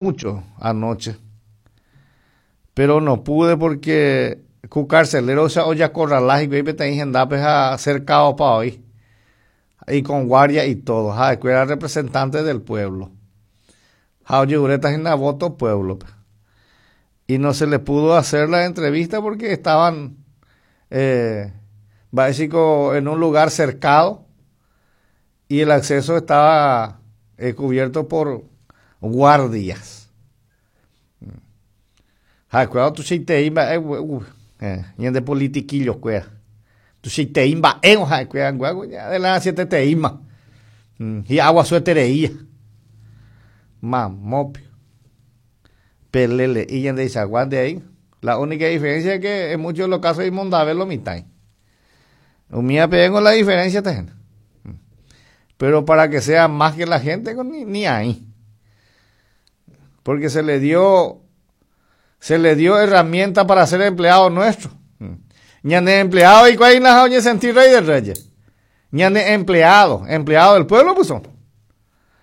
Mucho anoche, pero no pude porque ku carcelero-cha ojacorrala hikuái peteĩ hendápe ha cercado-pa oĩ, y con guardia y todo, ha'ekuéra representante del pueblo ha ojeguréta hína voto pueblo-pe. Y no se le pudo hacer la entrevista porque estaban eh, mba'éichiko en un lugar cercado y el acceso estaba eh, cubierto por guardias. Ha'ekuéra tuichaitei mba'e eh, ñande politiquillo-kuéra. Tuichaitei mba'éngo ha'ekuéra adelantieteteíma. Mm, hi'aguasuetereía. Mamópio. Pelele'i ñandeichagua nde ahí. La única diferencia es que en muchos de los casos imondave lo mitãi. Umíva peẽngo la diferencia ta hína. Pero para que sea más que la gente ni, ni ahí. Porque se le dio se le dio herramienta para ser empleado nuestro. Ñane empleado y cuál es oñe sentir rey de reyes. Ñane empleado, empleado del pueblo pues son.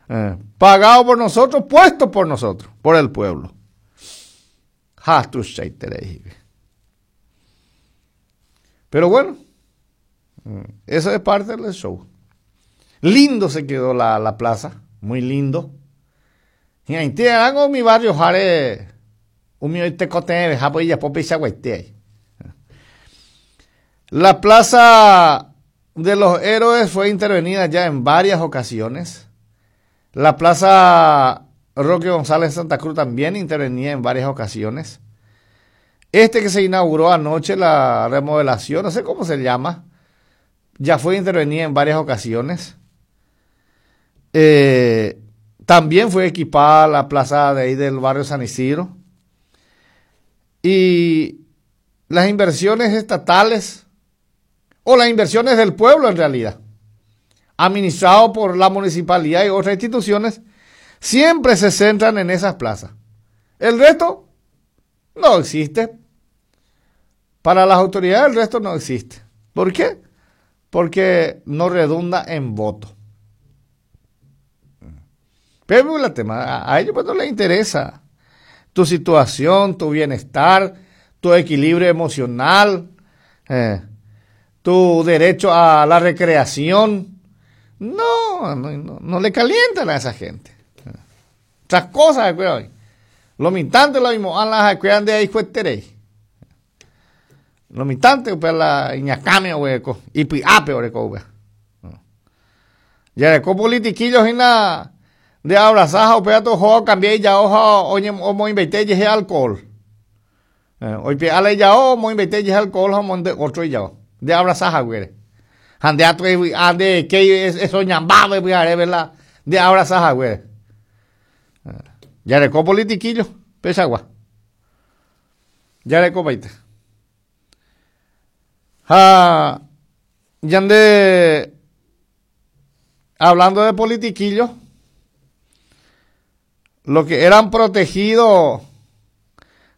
Eh, pagado por nosotros, puesto por nosotros, por el pueblo. Ha tuichaiterei. Pero bueno, eso es parte del show. Lindo se quedó la, la plaza, muy lindo. Hi'ãite mi barrio jare umi oitekotevẽ ha ijapo peichaguaite. La plaza de los héroes fue intervenida ya en varias ocasiones. La plaza Roque González Santa Cruz también intervenía en varias ocasiones. Este que se inauguró anoche, la remodelación, no sé cómo se llama, ya fue intervenida en varias ocasiones. Eh, también fue equipada la plaza de ahí del barrio San Isidro. Y las inversiones estatales, o las inversiones del pueblo en realidad, administrado por la municipalidad y otras instituciones, siempre se centran en esas plazas. El resto no existe. Para las autoridades el resto no existe. ¿Por qué? Porque no redunda en voto. Pero la tema, a ellos pues no les interesa tu situación, tu bienestar, tu equilibrio emocional, eh, tu derecho a la recreación. No, no, no, le calientan a esa gente. Otras cosas, cuidado. Lo mitante lo mismo, a las cuidan de ahí fueterei. Lo mitante, pues la iñacame hueco, y piape oreco, Ya de politiquillos y na de abrazaja o peato jo cambié ya ojo oye o mo inverté ye alcohol. Eh, hoy pe ale ya o mo inverté ye alcohol o monde otro ya de abrazaja güere. Ande ato ande que eso ñambabe verdad de abrazaja güere. Ya de politiquillo pesagua. Ya de copaite. Ha yande hablando de politiquillos, los que eran protegidos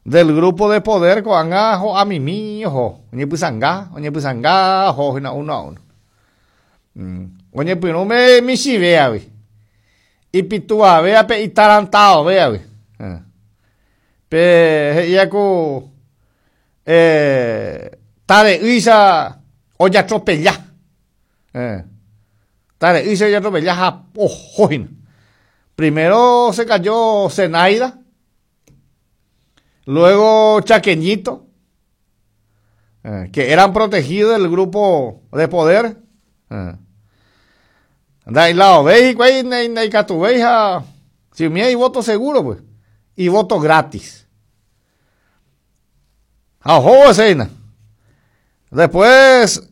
del grupo de poder ko'ág̃a ho'amimi oho oñepysãnga oñepysãnga oho hína uno a uno. Mm. Oñepyrũme michĩvéagui ipituavéa pe itarantaovéagui. Eh. Pe he'íva ku eh, tare'ýicha ojatropella. Eh. Tare'ýicha ojatropella ha oho hína. Primero se cayó Zenaida, luego Chaqueñito, eh, que eran protegidos del grupo de poder. Eh. Ndailaovéi hikuái ndaikatuvéi ha si umi hay voto seguro pues y voto gratis. Ha ohóvo hese Después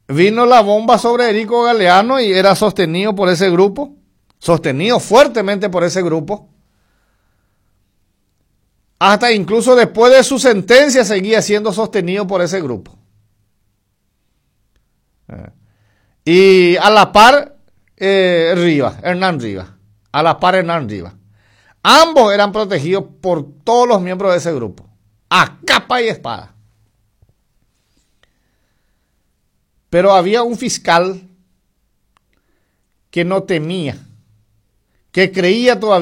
vino la bomba sobre Erico Galeano y era sostenido por ese grupo, sostenido fuertemente por ese grupo. Hasta incluso después de su sentencia seguía siendo sostenido por ese grupo. Eh. Y a la par, eh, Rivas, Hernán Rivas. A la par, Hernán Rivas. Ambos eran protegidos por todos los miembros de ese grupo. A capa y espada. Pero había un fiscal que no temía, Que creía todavía.